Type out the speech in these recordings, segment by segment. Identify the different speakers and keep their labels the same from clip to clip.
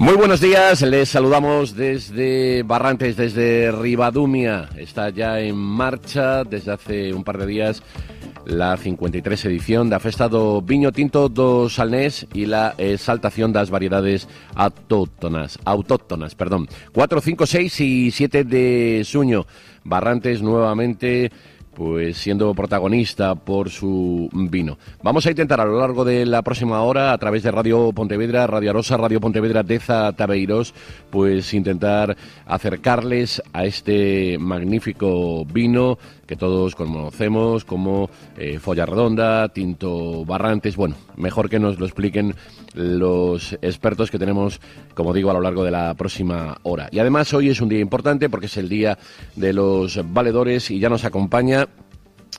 Speaker 1: Muy buenos días, les saludamos desde Barrantes, desde Ribadumia. Está ya en marcha desde hace un par de días la 53 edición da Festa do Viño Tinto do Salnés e la exaltación das variedades autóctonas, 4, 5, 6 y 7 de xuño. Barrantes nuevamente pues siendo protagonista por su vino. Vamos a intentar a lo largo de la próxima hora, a través de Radio Pontevedra, Radio Arosa, Radio Pontevedra Deza Tabeiros, pues intentar acercarles a este magnífico vino que todos conocemos como Folla Redonda, Tinto Barrantes. Bueno, mejor que nos lo expliquen los expertos que tenemos, como digo, a lo largo de la próxima hora. Y además hoy es un día importante porque es el día de los valedores y ya nos acompaña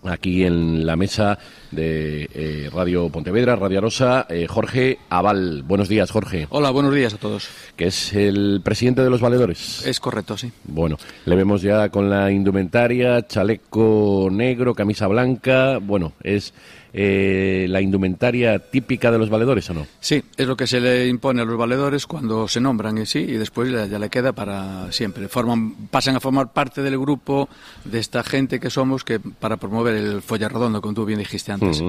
Speaker 1: aquí en la mesa de Radio Pontevedra, Radio Arosa, Jorge Abal. Buenos días, Jorge.
Speaker 2: Hola, buenos días a todos.
Speaker 1: Que es el presidente de los valedores.
Speaker 2: Es correcto, sí.
Speaker 1: Bueno, le vemos ya con la indumentaria, chaleco negro, camisa blanca. Bueno, es la indumentaria típica de los valedores, ¿o no?
Speaker 2: Sí, es lo que se le impone a los valedores cuando se nombran y después ya le queda para siempre. Pasan a formar parte del grupo de esta gente que somos que para promover el Folla Redonda, como tú bien dijiste antes.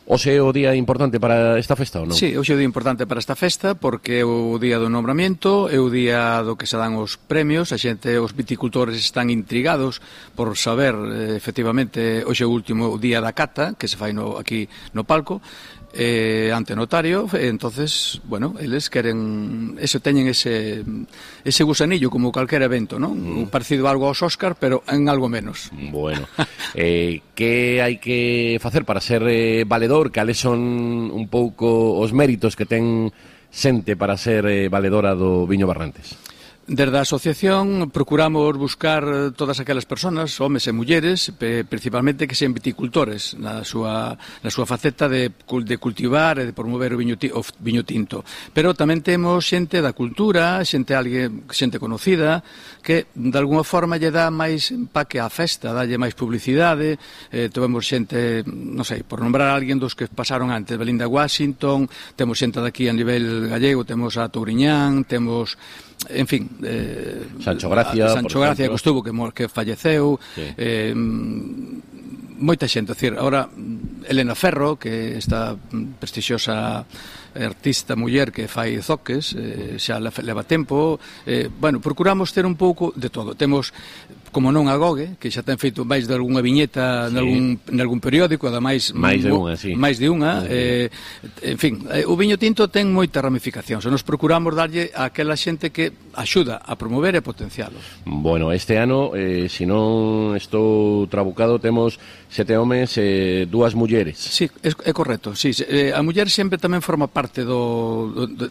Speaker 1: Hoxe é o día importante para esta festa, ou non?
Speaker 2: Sí, hoxe é o día importante para esta festa porque é o día do nombramiento, é o día do que se dan os premios, os viticultores están intrigados por saber, efectivamente, hoxe é o último día da cata, que se fai aquí no palco, ante notario, entonces, bueno, eles queren, teñen ese gusanillo como calquer evento, non? Parecido algo aos Óscar, pero en algo menos.
Speaker 1: Bueno, que hai que facer para ser valedor? Cales son un pouco os méritos que ten xente para ser valedora do Viño Barrantes?
Speaker 2: Desde a asociación procuramos buscar todas aquelas persoas, homes e mulleres, principalmente que sean viticultores na súa faceta de cultivar e de promover o viño tinto. Pero tamén temos xente da cultura, xente conocida, que de alguna forma lle dá máis empaque á festa, dalle máis publicidade. Temos xente, non sei, por nombrar a alguén dos que pasaron antes, Belinda Washington, temos xente daqui a nivel gallego, temos a Touriñán, temos, en fin,
Speaker 1: Sancho Gracia,
Speaker 2: que estuvo, que falleceu, sí. Moita xente, decir, ahora Elena Ferro, que esta prestixiosa artista muller que fai zoques, xa leva tempo, bueno, procuramos ter un pouco de todo. Temos, como non a Gogue, que xa ten feito máis de algunha viñeta sí. nalgún periódico, ademais máis de unha, en fin, o viño tinto ten moitas ramificacións, e nos procuramos darlle a aquela xente que axuda a promover e potencialo.
Speaker 1: Bueno, este ano, se non estou trabucado, temos 7 homes e 2 mulleres.
Speaker 2: Sí, é correcto, sí. A muller sempre tamén forma parte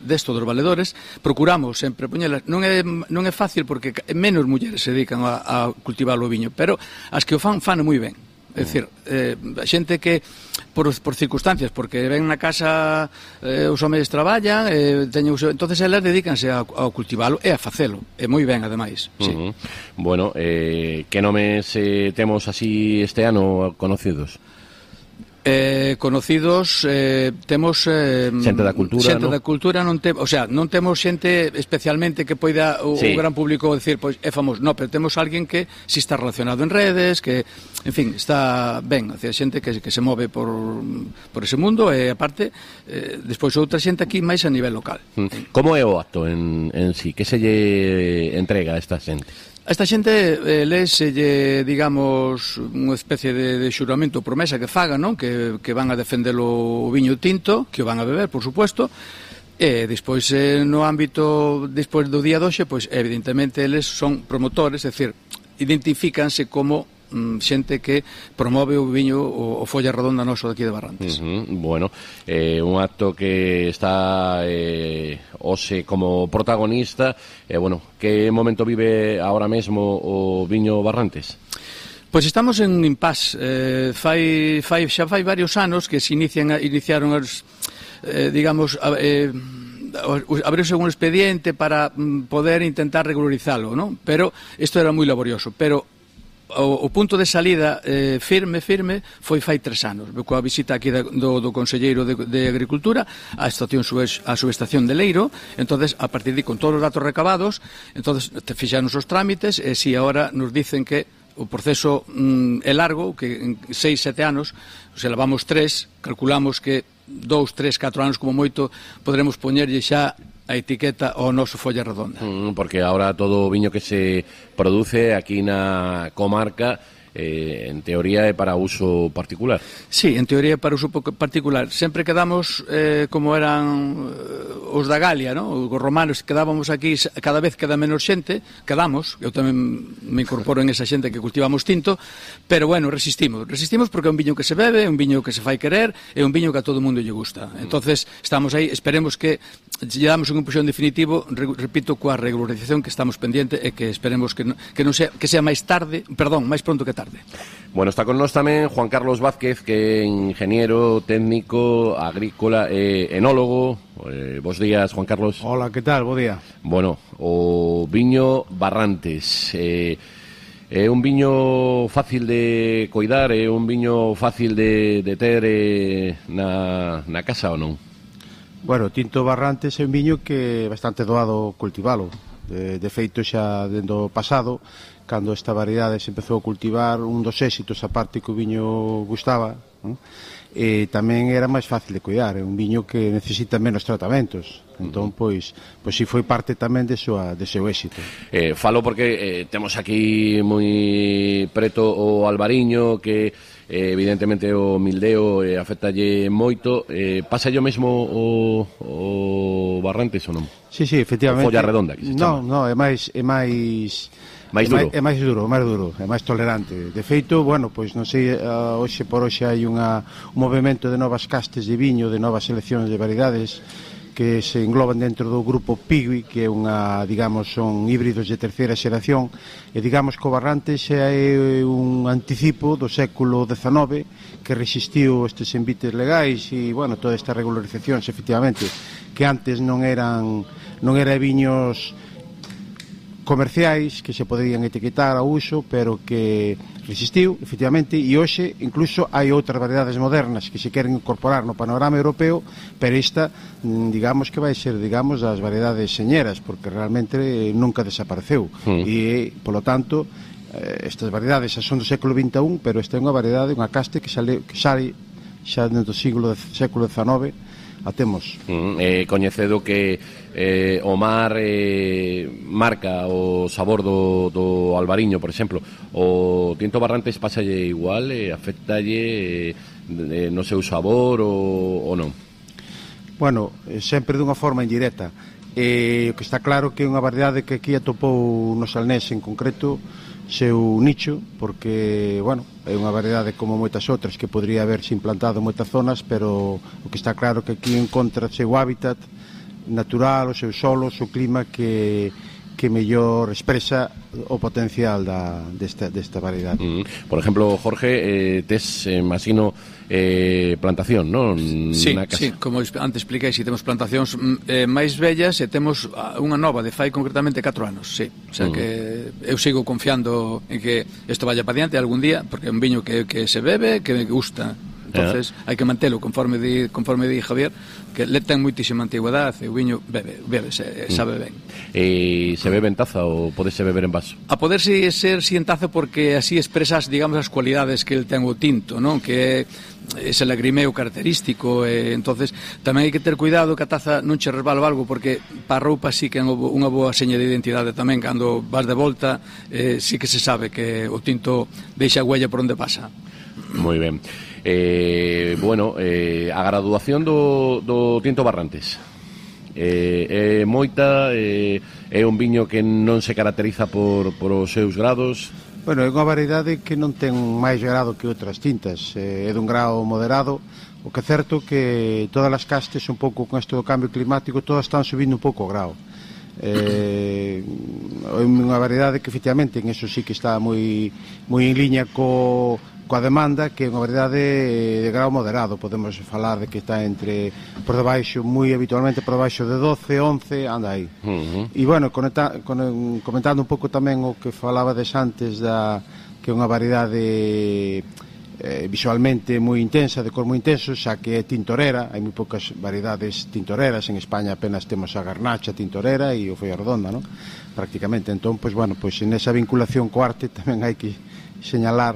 Speaker 2: desto dos valedores. Procuramos sempre poñelas, non é fácil porque menos mulleres se dedican a cultivar o viño, pero as que o fan moi ben. É dicir, a xente que por circunstancias, porque ven na casa os homens traballan, entonces elas dedícanse a cultivalo e a facelo, e moi ben ademais. Sí.
Speaker 1: Bueno, que nomes temos así este ano conocidos?
Speaker 2: Conocidos temos
Speaker 1: xente da cultura,
Speaker 2: xente da cultura non temos xente especialmente que poida o gran público decir, pois é famoso, pero temos alguén que si está relacionado en redes, que, en fin, está ben, hacia xente que se move por ese mundo e aparte despois outra xente aquí máis a nivel local.
Speaker 1: Como é o acto en sí? Que se lle entrega a esta xente?
Speaker 2: A esta xente leselle, digamos, unha especie de xuramento, promesa que fagan, non? Que van a defender o viño tinto, que o van a beber, por supuesto, e despois no ámbito, despois do día doxe, pois evidentemente eles son promotores, é dicir, identifícanse como xente que promove o viño o Folla Redonda noso daqui de Barrantes.
Speaker 1: Bueno, un acto que está hoxe como protagonista, bueno, que momento vive ahora mesmo o viño Barrantes?
Speaker 2: Pois estamos en impasse, xa fai varios anos que se iniciaron os, digamos, abriuse un expediente para poder intentar regularizalo, non? Pero isto era moi laborioso, pero o punto de salida firme foi fai 3 anos, coa visita aquí do Conselleiro de Agricultura á subestación de Leiro. Entonces, a partir de con todos os datos recabados, entonces fixaron os trámites, e si agora nos dicen que o proceso é largo, que en 6-7 anos, se levamos 3, calculamos que 2-3-4 anos como moito poderemos poñerlle xa a etiqueta ao noso folla redonda.
Speaker 1: Porque ahora todo o viño que se produce aquí na comarca en teoría é para uso particular.
Speaker 2: Sí, en teoría é para uso particular. Sempre quedamos como eran os da Galia, ¿no? Os romanos, quedábamos aquí, cada vez queda menos xente, quedamos, eu tamén me incorporo en esa xente que cultivamos tinto, pero bueno, resistimos porque é un viño que se bebe, é un viño que se fai querer, é un viño que a todo mundo lle gusta. Entonces, estamos aí, esperemos que lle damos un impulsión definitivo, repito, coa regularización que estamos pendiente, e que esperemos que sea máis pronto que tarde.
Speaker 1: Bueno, está con nós tamén Juan Carlos Vázquez, que é ingeniero técnico agrícola e enólogo. Bos días, Juan Carlos.
Speaker 3: Hola, que tal? Bo día.
Speaker 1: Bueno, o viño Barrantes é un viño fácil de coidar, é un viño fácil de ter na casa ou non?
Speaker 3: Bueno, tinto Barrantes é un viño que é bastante doado cultivalo. De feito, xa dentro do pasado, cando esta variedade se empezou a cultivar, un dos éxitos, a parte que o viño gustaba, non? E tamén era máis fácil de cuidar, é un viño que necesita menos tratamentos. Entón, pois si foi parte tamén de seu éxito.
Speaker 1: Falo porque temos aquí moi preto o albariño, que evidentemente o mildeo afectalle moito. Pasa yo mesmo o Barrantes ou non?
Speaker 3: Sí, efectivamente.
Speaker 1: O folla redonda, que se chama.
Speaker 3: Non, é máis duro. É máis duro, é máis tolerante. De feito, bueno, pois non sei, hoxe por hoxe hai un movimento de novas castes de viño, de novas seleccións de variedades que se engloban dentro do grupo Pigui, que é son híbridos de terceira xeración, e digamos que o Barrantes é un anticipo do século XIX que resistiu estes envites legais e, bueno, todas estas regularizacións, efectivamente, que antes non eran viños comerciais que se poderían etiquetar a uso, pero que resistiu, efectivamente, e hoxe incluso hai outras variedades modernas que se queren incorporar no panorama europeo, pero esta, digamos que vai ser, das variedades señeras, porque realmente nunca desapareceu. E, polo tanto, estas variedades xa son do século XXI, pero esta é unha variedade, unha caste que sale xa dentro do século XIX, a temos.
Speaker 1: Coñecedo que o mar marca o sabor do albariño, por exemplo. O tinto Barrantes pasalle igual, afectalle no seu sabor ou non?
Speaker 3: Bueno, sempre dunha forma indirecta. O que está claro que é unha variedade que aquí atopou no Salnés en concreto seu nicho, porque, bueno, é unha variedade como moitas outras que podría haberse implantado en moitas zonas, pero o que está claro que aquí encontra o seu hábitat natural, o seu solo, o seu clima que mellor expresa o potencial desta variedade.
Speaker 1: Por exemplo, Jorge, tes, imagino, plantación, non?
Speaker 2: Sí, como antes expliquei, temos plantacións máis vellas e temos unha nova de fai concretamente 4 anos, sí. O sea que eu sigo confiando en que isto vaya para diante algún día, porque é un viño que se bebe, que me gusta. Entonces, hai que mantelo, conforme di Javier, que le ten moitísima antigüedade, e o viño bebe, sabe ben.
Speaker 1: E se bebe en taza ou podese beber en vaso?
Speaker 2: A poderse ser si en taza, porque así expresas, digamos, as cualidades que el ten o tinto, non? Que é ese lagrimeo característico, entonces tamén hai que ter cuidado que a taza non che resbala algo, porque para a roupa sí que é unha boa seña de identidade tamén, cando vas de volta sí que se sabe que o tinto deixa huella por onde pasa.
Speaker 1: Moi ben. Bueno, a graduación do tinto Barrantes é moita, é un viño que non se caracteriza por os seus grados.
Speaker 3: Bueno, é unha variedade que non ten máis grado que outras tintas, é dun grado moderado. O que é certo que todas as castes, un pouco con isto do cambio climático, todas están subindo un pouco o grado. É unha variedade que efectivamente en eso sí que está moi en liña coa demanda, que é unha variedade de grau moderado. Podemos falar de que está entre, por debaixo, moi habitualmente por debaixo de 12, 11, anda aí. E bueno, comentando un pouco tamén o que falabades antes que é unha variedade visualmente moi intensa, de cor moi intenso, xa que é tintorera. Hai moi poucas variedades tintoreras en España, apenas temos a garnacha tintorera e o folla redonda, non? Prácticamente. Entón, pois bueno, pois en esa vinculación co arte tamén hai que señalar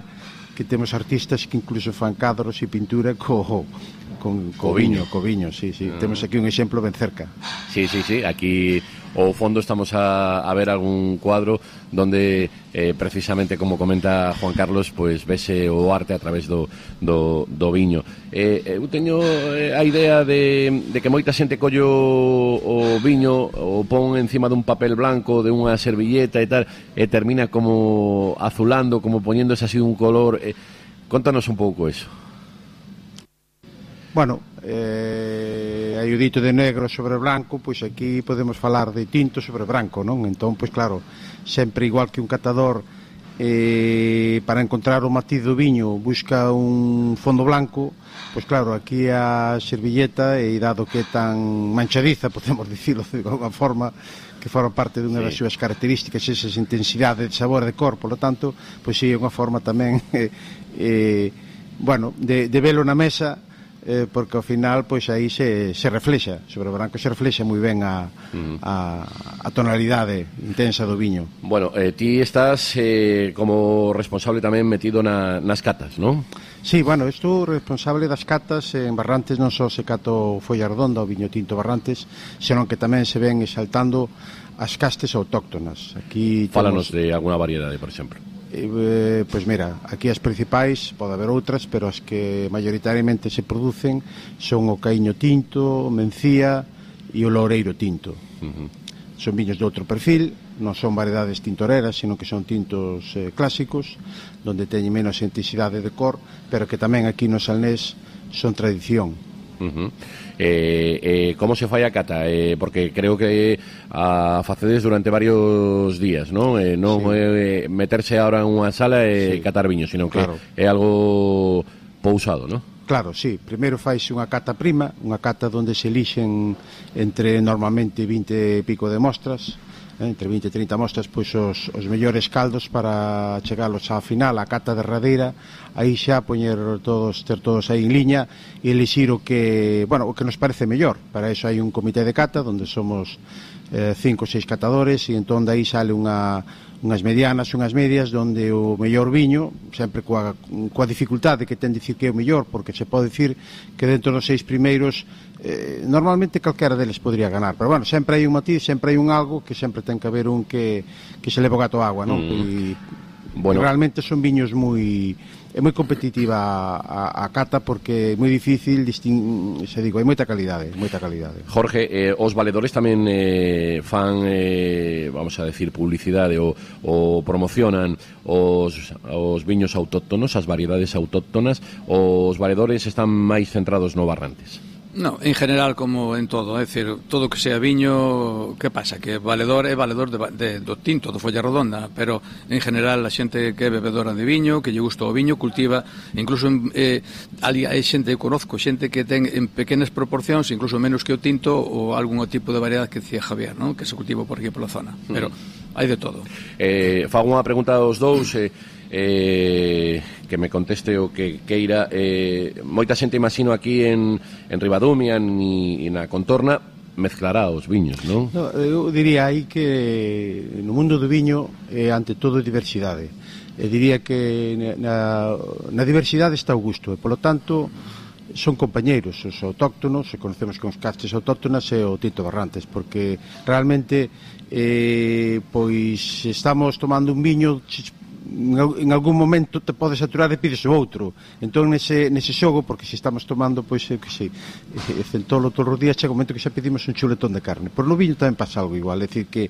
Speaker 3: que temos artistas que incluso fan cadros e pintura co viño, sí. Temos aquí un exemplo ben cerca.
Speaker 1: Sí, aquí ao fondo estamos a ver algún cuadro donde precisamente, como comenta Juan Carlos, pues vese o arte a través do viño. Eu teño a idea de que moita xente collo o viño, o pon encima dun papel blanco, de unha servilleta e tal, e termina como azulando, como poñéndose así un color. Contanos un pouco eso.
Speaker 3: Bueno, hai o dito de negro sobre branco, pois aquí podemos falar de tinto sobre branco, non? Entón, pois claro, sempre igual que un catador para encontrar o matiz do viño busca un fondo blanco, pois claro, aquí a servilleta, e dado que é tan manchadiza, podemos dicirlo de alguma forma, que forma parte dunha das súas características, esas intensidades de sabor e de cor, polo tanto, pois sí, é unha forma tamén bueno, de velo na mesa, porque ao final pois aí se reflexa sobre o branco, se reflexa moi ben a tonalidade intensa do viño.
Speaker 1: Bueno, ti estás como responsable tamén metido nas catas, non?
Speaker 3: Sí, bueno, estou responsable das catas en Barrantes. Non só se cato folla redonda, o viño tinto Barrantes, senón que tamén se ven exaltando as castes autóctonas. Aquí
Speaker 1: fálanos de alguna variedade, por exemplo.
Speaker 3: Pois mira, aquí as principais, pode haber outras, pero as que maioritariamente se producen son o caíño tinto, o mencía e o loureiro tinto. Son viños de outro perfil, non son variedades tintoreras, sino que son tintos clásicos, donde teñen menos intensidade de cor, pero que tamén aquí no Salnés son tradición.
Speaker 1: Como se fai a cata? Porque creo que a facedes durante varios días, non? Non sí. Meterse ahora en unha sala e catar viño, sino que é algo pousado, non?
Speaker 3: Claro, sí. Primeiro faise unha cata prima, unha cata onde se elixen entre normalmente 20 e pico de mostras, entre 20 e 30 mostras, pois os mellores caldos para chegalos á final, á cata derradeira, aí xa ter todos aí en liña e elixir o que nos parece mellor. Para iso hai un comité de cata onde somos 5 ou 6 catadores, e entón daí sale unhas medianas, unhas medias, onde o mellor viño, sempre coa dificultade que ten dicir que é o mellor, porque se pode dicir que dentro dos 6 primeiros normalmente calquera deles podría ganar, pero bueno, sempre hai un matiz, sempre hai un algo que sempre ten que haber un que se leva o gato á agua, non? E realmente son viños é moi competitiva a cata, porque é moi difícil hai moita calidade.
Speaker 1: Jorge, os valedores tamén fan, vamos a decir, publicidade ou promocionan os viños autóctonos, as variedades autóctonas. Os valedores están máis centrados no Barrantes?
Speaker 2: No, en general, como en todo, é dicir, todo que sea viño, que pasa? Que valedor é valedor do tinto, do folla redonda, pero en general a xente que é bebedora de viño, que lle gusta o viño, cultiva, incluso hai xente, eu conozco xente que ten en pequenas proporcións, incluso menos que o tinto, ou algún tipo de variedade que decía Javier, ¿no? Que se cultiva por aquí pola zona, pero hai de todo.
Speaker 1: Fago unha pregunta aos dous, que me conteste o que queira. Moita xente, imagino, aquí en Ribadumia e na contorna mezclará os viños, non?
Speaker 3: No, eu diría aí que no mundo do viño ante todo diversidade. Diría que na diversidade está o gusto, e polo tanto son compañeiros os autóctonos, e conocemos que os castes autóctonas e o tinto Barrantes, porque realmente pois estamos tomando un viño, en algún momento te podes saturar e pides o outro. Entón nese xogo, porque se estamos tomando, pois que sei, centolo todos os días, chega un momento que xa pedimos un chuletón de carne. Por no viño tamén pasa algo igual, é dicir que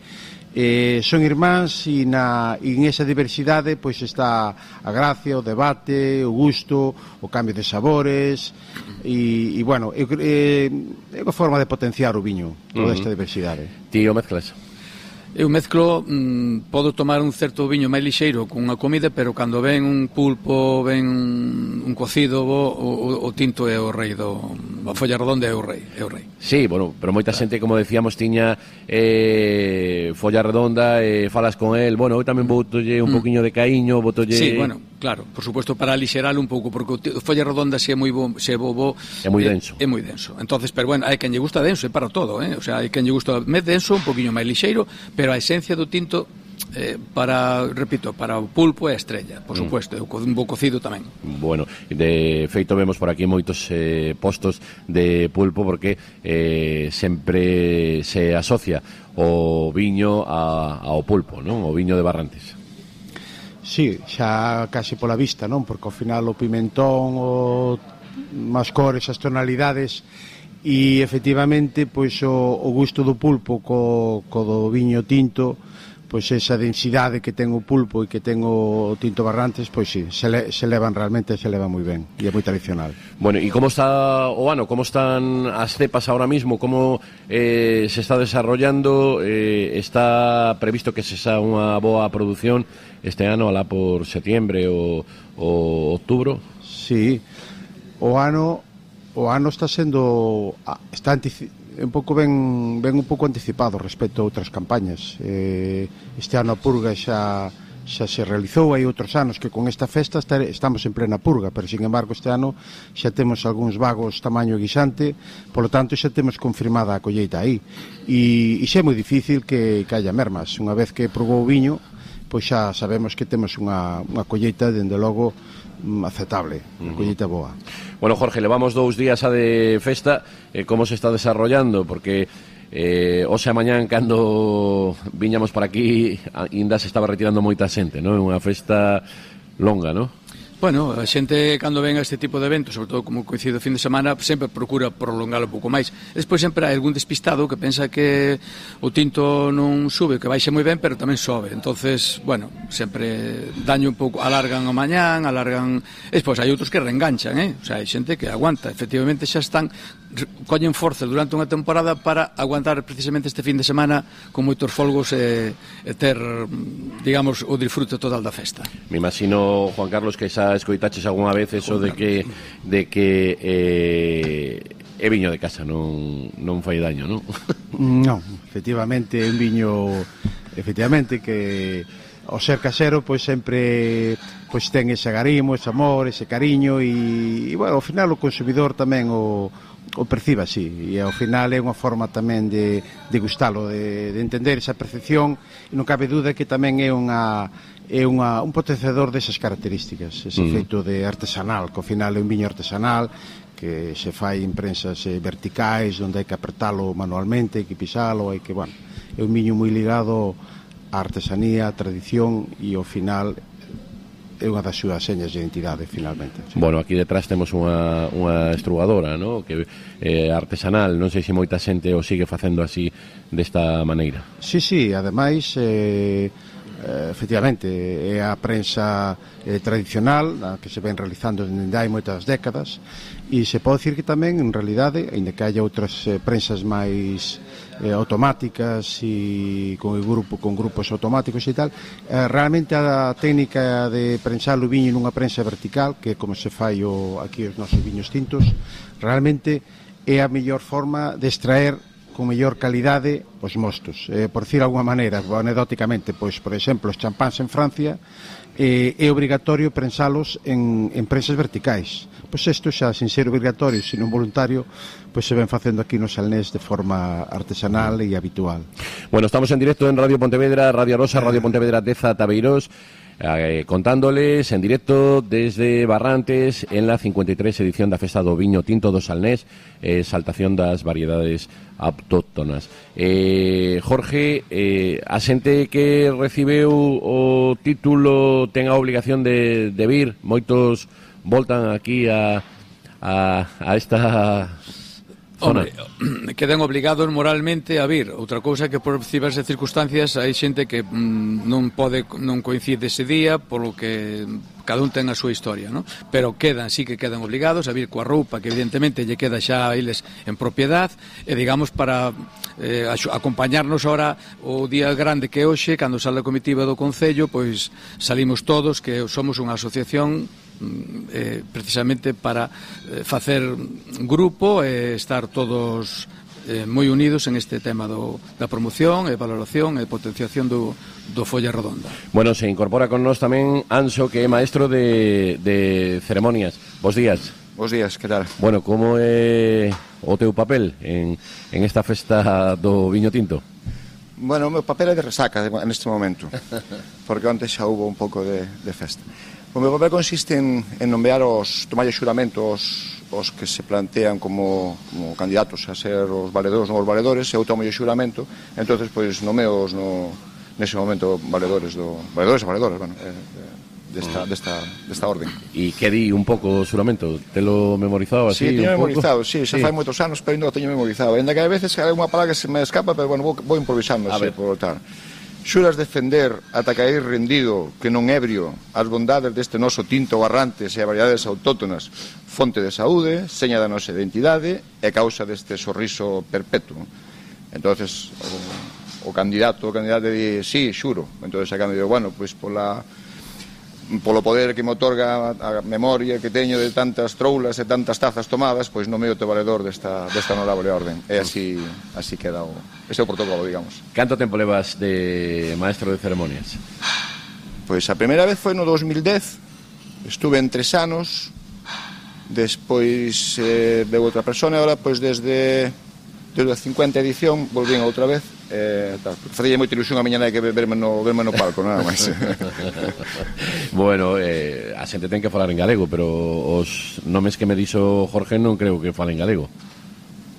Speaker 3: son irmáns, e en esa diversidade pois está a gracia, o debate, o gusto, o cambio de sabores, e bueno, é unha forma de potenciar o viño, toda esta diversidade.
Speaker 1: Tío, mezclas?
Speaker 2: Eu mezclo, podo tomar un certo viño máis lixeiro con unha comida, pero cando ven un pulpo, ven un cocido, o tinto é o rei a folla redonda é o rei.
Speaker 1: Sí, bueno, pero moita xente, como decíamos, tiña folla redonda, falas con el, bueno, eu tamén botolle un poquinho de caiño, botolle...
Speaker 2: Sí, bueno, claro, por suposto, para lixeralo un pouco, porque o folla redonda se é moi bobo,
Speaker 1: é moi denso.
Speaker 2: É moi denso. Entonces, pero bueno, hai quen lle gusta denso, é para todo, O sea, hai quen lle gusta máis denso, un poquinho máis lixeiro, pero a esencia do tinto para o pulpo é a estrella, por suposto, un bo cocido tamén.
Speaker 1: Bueno, de feito vemos por aquí moitos postos de pulpo porque sempre se asocia o viño ao pulpo, non? O viño de Barrantes.
Speaker 3: Sí, xa case pola vista, non? Porque ao final o pimentón, as cores, as tonalidades, e efectivamente pois o gusto do pulpo co do viño tinto, pois esa densidade que ten o pulpo e que ten o tinto Barrantes, pois sí, se levan moi ben e é moi tradicional.
Speaker 1: Bueno, e como está o ano? Como están as cepas ahora mismo? Como se está desarrollando? Está previsto que se xa unha boa produción este ano, alá por setiembre ou outubro?
Speaker 3: Sí, o ano está sendo un pouco ben un pouco anticipado respecto a outras campañas. Este ano a purga xa se realizou, hai outros anos que con esta festa estamos en plena purga, pero sin embargo este ano xa temos algúns vagos tamaño guisante, polo tanto xa temos confirmada a colleita aí, e xa é moi difícil que haya mermas. Unha vez que probou o viño, pois xa sabemos que temos unha colleita, dende logo, aceptable, unha colleita boa.
Speaker 1: Bueno, Jorge, levamos 2 días a de festa, como se está desarrollando? Porque hoxe a mañán, cando viñamos por aquí, ainda se estaba retirando moita xente, non? É unha festa longa, non?
Speaker 2: Bueno, a xente cando ven a este tipo de eventos, sobre todo como coincide o fin de semana, sempre procura prolongalo un pouco máis. Despois sempre hai algún despistado que pensa que o tinto non sube, que baixe moi ben, pero tamén sobe. Entonces, bueno, sempre daño un pouco, alargan o mañán, despois hai outros que reenganchan, O sea, hai xente que aguanta, efectivamente xa están, collen forza durante unha temporada para aguantar precisamente este fin de semana con moitos folgos e ter, digamos, o disfrute total da festa.
Speaker 1: Me imagino, Juan Carlos, que xa escoitaches algunha vez eso de que é viño de casa, non fai daño, non?
Speaker 3: Non, efectivamente é un viño que ao ser casero pois sempre pois ten ese agarimo, ese amor, ese cariño, e bueno, ao final o consumidor tamén o percibe así, e ao final é unha forma tamén de gustalo, de entender esa percepción, e non cabe duda que tamén é un potenciador desas características, ese feito de artesanal, que ao final é un viño artesanal que se fai en prensas verticais, onde hai que apertalo manualmente, hai que pisalo, é un viño moi ligado á artesanía, á tradición, e ao final é unha das súas señas de identidade, finalmente. Sí.
Speaker 1: Bueno, aquí detrás temos unha estrugadora, ¿no? Que é artesanal, non sei se moita xente o sigue facendo así, desta maneira.
Speaker 3: Sí, ademais, efectivamente, é a prensa tradicional, a que se ven realizando dende hai moitas décadas, e se pode dicir que tamén, en realidade, aínda que haya outras prensas máis automáticas e con grupos automáticos e tal, realmente a técnica de prensar o viño nunha prensa vertical, que é como se fai aquí os nosos viños tintos, realmente é a mellor forma de extraer con mellor calidade os mostos. Por decir alguma maneira, anecdóticamente, pois, por exemplo, os champáns en Francia é obrigatorio prensalos en prensas verticais. Pois isto xa, sin ser obrigatorio, sino voluntario, pois se ven facendo aquí no Salnés de forma artesanal e habitual.
Speaker 1: Bueno, estamos en directo en Radio Pontevedra, Radio Rosa, Radio Pontevedra Teza, Tabeiros, contándoles en directo desde Barrantes en la 53 edición da Festa do Viño Tinto do Salnés, exaltación das variedades autóctonas. Jorge, a xente que recibeu o título ten a obligación de vir, moitos voltan aquí a esta
Speaker 2: Hombre, quedan obligados moralmente a vir. Outra cousa que por diversas circunstancias hai xente que non coincide ese día, polo que cada un ten a súa historia, ¿no? Pero sí que quedan obligados a vir coa roupa que evidentemente lle queda xa a eles en propiedad, e digamos para acompañarnos ahora o día grande que é hoxe, cando sale a comitiva do Concello, pois salimos todos, que somos unha asociación precisamente para facer grupo e estar todos moi unidos en este tema da promoción e valoración e potenciación do Folla Redonda.
Speaker 1: Bueno, se incorpora con nós tamén Anxo, que é maestro de ceremonias. Bos días.
Speaker 4: Bos días, que tal?
Speaker 1: Bueno, como é o teu papel en esta festa do viño tinto?
Speaker 4: Bueno, o meu papel é de resaca neste momento, porque antes xa hubo un pouco de festa. O meu papel consiste en nomear tomar xuramentos os que se plantean como candidatos a ser os valedores, novos valedores, e eu tomo o xuramento, entonces pois nomeos nese momento valedores e valedoras, bueno, desta orden.
Speaker 1: E que di un pouco o xuramento? Te lo memorizado así?
Speaker 4: Sí, teño memorizado, sí, xa fai moitos anos, pero ainda o teño memorizado. Ainda que a veces hai unha palabra que se me escapa, pero bueno, vou improvisando así, por tal. Xuras defender ata caer rendido que non ebrio as bondades deste noso tinto Barrantes e as variedades autóctonas, fonte de saúde, seña da nosa identidade e causa deste sorriso perpetuo. Entonces o candidato di, sí, xuro. Entonces a cambio digo, bueno, pois polo poder que me otorga a memoria que teño de tantas troulas e tantas tazas tomadas, pois non me o valedor desta honorable orden. E así queda este é o protocolo, digamos.
Speaker 1: Canto tempo levas de maestro de ceremonias?
Speaker 4: Pois a primeira vez foi no 2010, estuve en 3 anos, despois veu outra persona, e agora pois desde a 50 edición volvín outra vez. Facía moita ilusión a miña nai que verme no palco, nada máis.
Speaker 1: Bueno, a xente ten que falar en galego, pero os nomes que me dixo Jorge non creo que falen galego.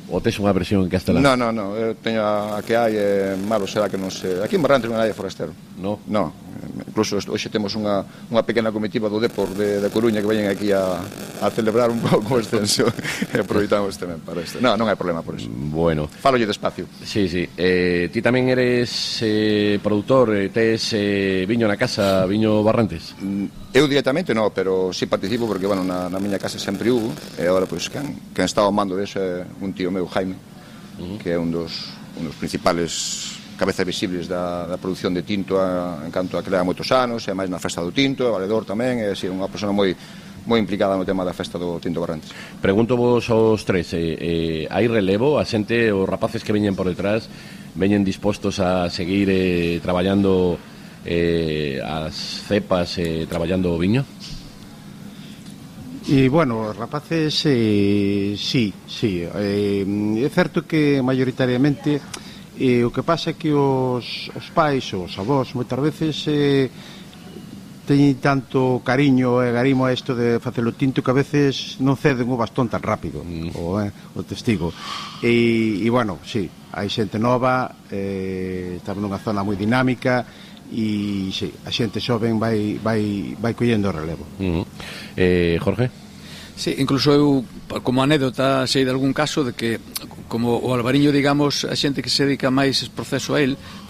Speaker 1: Ou tes unha versión en castelán?
Speaker 4: Non, eu teño a que hai, malo será que non sei. Aquí en Barrantes non hai forastero.
Speaker 1: No?
Speaker 4: Non, incluso hoxe temos unha pequena comitiva do Depor de Coruña que veñen aquí a celebrar un pouco o extenso e aproveitamos tamén para isto. Non hai problema por iso.
Speaker 1: Bueno.
Speaker 4: Fálolle despacio.
Speaker 1: Sí. Ti tamén eres produtor, tes viño na casa, viño Barrantes?
Speaker 4: Eu directamente non, pero sí participo porque, bueno, na miña casa sempre hubo, e agora, pois, quen está ao mando deso é un tío meu, Jaime, que é un dos principales cabezas visibles da produción de tinto en canto a que leva moitos anos, e máis na festa do tinto, é valedor tamén, é unha persona moi implicada no tema da festa do tinto Barrantes.
Speaker 1: Pregunto vos aos tres, hai relevo? A xente, os rapaces que veñen por detrás, veñen dispostos a seguir traballando as cepas, traballando o viño?
Speaker 3: E, bueno, rapaces, sí. É certo que maioritariamente o que pasa é que os pais, os avós, moitas veces teñen tanto cariño e garimo a isto de facer o tinto que a veces non ceden o bastón tan rápido, o testigo. E, bueno, sí, hai xente nova, estamos nunha zona moi dinámica, e sí, a xente xoven vai collendo o relevo.
Speaker 1: Jorge?
Speaker 2: Sí, incluso eu, como anécdota, sei de algún caso de que, como o albariño, digamos, a xente que se dedica máis ese proceso a él,